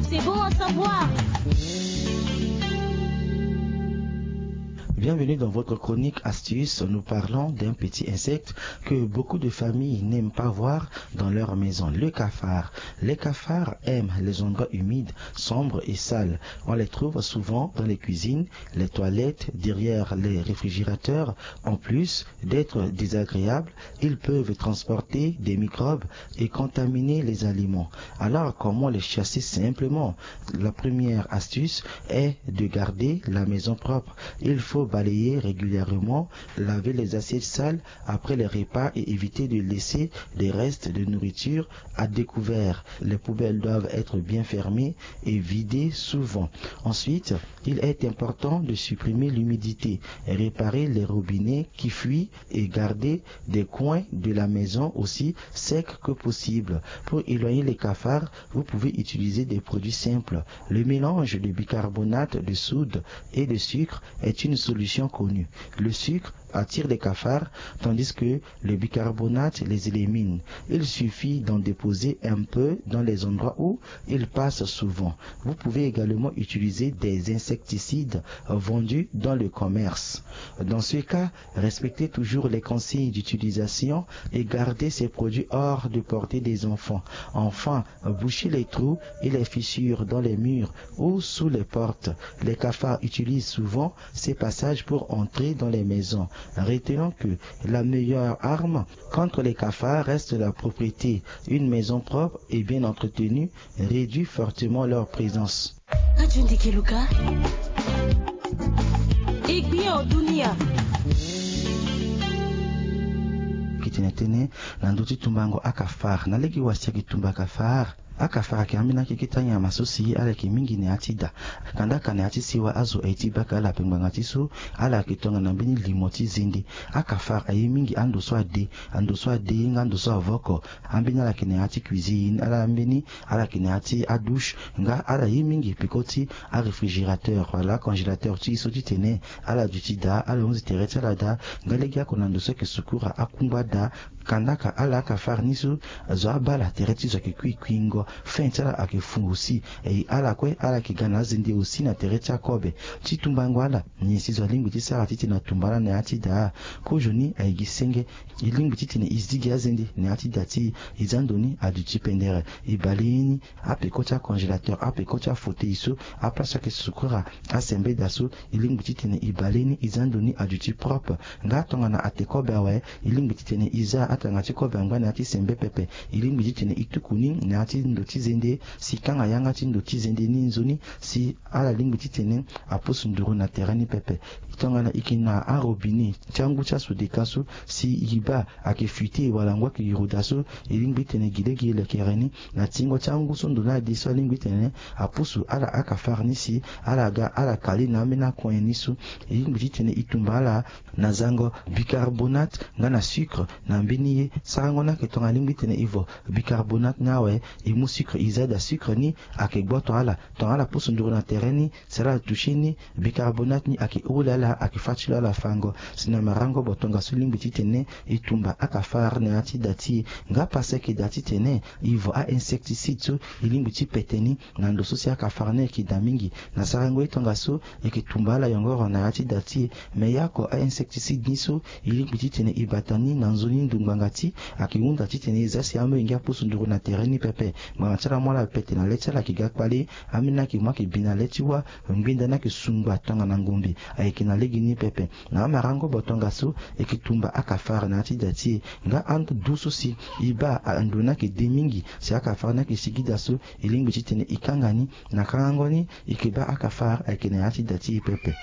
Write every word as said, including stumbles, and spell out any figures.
C'est bon à savoir. Bienvenue dans votre chronique astuce. Nous parlons d'un petit insecte que beaucoup de familles n'aiment pas voir dans leur maison, le cafard. Les cafards aiment les endroits humides, sombres et sales. On les trouve souvent dans les cuisines, les toilettes, derrière les réfrigérateurs. En plus d'être désagréables, ils peuvent transporter des microbes et contaminer les aliments. Alors, comment les chasser simplement ? La première astuce est de garder la maison propre. Il faut balayer régulièrement, laver les assiettes sales après les repas et éviter de laisser des restes de nourriture à découvert. Les poubelles doivent être bien fermées et vidées souvent. Ensuite, il est important de supprimer l'humidité, réparer les robinets qui fuient et garder des coins de la maison aussi secs que possible. Pour éloigner les cafards, vous pouvez utiliser des produits simples. Le mélange de bicarbonate de soude et de sucre est une solution connue. Le sucre attire les cafards, tandis que le bicarbonate les élimine. Il suffit d'en déposer un peu dans les endroits où ils passent souvent. Vous pouvez également utiliser des insecticides vendus dans le commerce. Dans ce cas, respectez toujours les consignes d'utilisation et gardez ces produits hors de portée des enfants. Enfin, bouchez les trous et les fissures dans les murs ou sous les portes. Les cafards utilisent souvent ces passages pour entrer dans les maisons. Retenons que la meilleure arme contre les cafards reste la propreté. Une maison propre et bien entretenue réduit fortement leur présence. Radio Ndikeluka. Aiguille en dunia. Kitene tene na ndö ti tumbango akafar. Na lege wa si ayeke tumba akafar. Akafar ayeke ambeni akeke ti anyama so si ala yeke mingi na ya ti da. Kanda aka na ya ti sewa azo aye ti baka ala ape ngbanga ti so ala yeke tongana mbeni limo ti zende. Akafar aye mingi ando so ade, ando so ade nga ando so avoko. Ambeni ala yeke na ya ti cuisine, ala ambeni ala yeke na ya ti adouche nga ala ye mingi peko ti aréfrigérateur wala acongélateur ti e so titene ala duti daa, ala hunzi tere ti ala daa. Nga lege oko na ndo so ayeke sukura akungba daa. Kanda aka ala akafar ni so azo abaa ala tere ti zo ayeke kui kuingo, fin ti ala ayeke fu aussi. E ala kue ala yeke ga na azende aussi na tere ti akobe. Ti tumbango ala nyen si zo alingbi ti sara titene atumba ala na ya ti daa? Kozoni aye gi senge. E lingbi titene e zi gi azende na ya ti da ti e. E za ndo ni aduti pendere. E bale ye ni apeko ti acongélateur, apeko ti afauteuil so, aplace so ayeke sukura asembeda so. E lingbi titene e bale ye ni, e za ndo ni aduti propre. Nga tongana ate kobe awe, e lingbi titene e za atanga ti kobe angba na ya ti sembe pepe. E lingbi titene e tuku ni na ya ti ndo ti zende si e kanga yanga ti ndo ti zende ni nzoni si ala lingbi titene apusu nduru na tere ni pepe. Tongana e yeke na arobinet ti angu ti asodeka so, si e baa ayeke fuite wala ngu ayeke yuru daa so, e lingbi titene gi lege e lekere ni na tingo ti angu so ndo ni ade so alingbi titene apusu ala akafar ni si ala ga ala kali na ambeni akoin ni so. E lingbi titene e tumba ala na zango bicarbonate nga na sucre na mbeni ye. Sarango ni ayeke tongana alingbi titene e vo bicarbonate ni awe, e mu sucre e za daa, sucre ni ayeke gboto ala. Tongana ala pusu nduru na tere ni si ala toucher ni, bicarbonate ni ayeke holi ala, ayeke fâ ti lo ala fango. Si na marango bo tongaso e lingbi titene e tumba akafar na ya ti da ti e. Nga pase ayeke daa titene e vo a-insecticide so e lingbi ti pete ni na ndo so si akafar ni ayeke daa mingi. Na sarango ye tongaso e yeke tumba ala yongoro na ya ti da ti e. Me ya oko a-insecticide ni so e lingbi titene e bata ni na nzoni ndo ngbanga ti ayeke hunda titene e za si amolenge apusu nduru na tere ni pepe. Ngbanga ti ala mu ala pete na le ti ala ayeke ga kpale. Ambeni ayeke mu ayeke bi na le ti wâ. Ngbenda ni ayeke sungba tongana ngombe. Ayeke na lege ni pepe. Na amarango bo tongaso e yeke tumba akafar na ya ti da ti e. Nga ando du so si e baa ando ni ayeke de mingi si akafar ni ayeke sigi daa so, e lingbi titene e kanga ni. Na kangango ni e yeke baa akafar ayeke na ya ti da ti e pepe.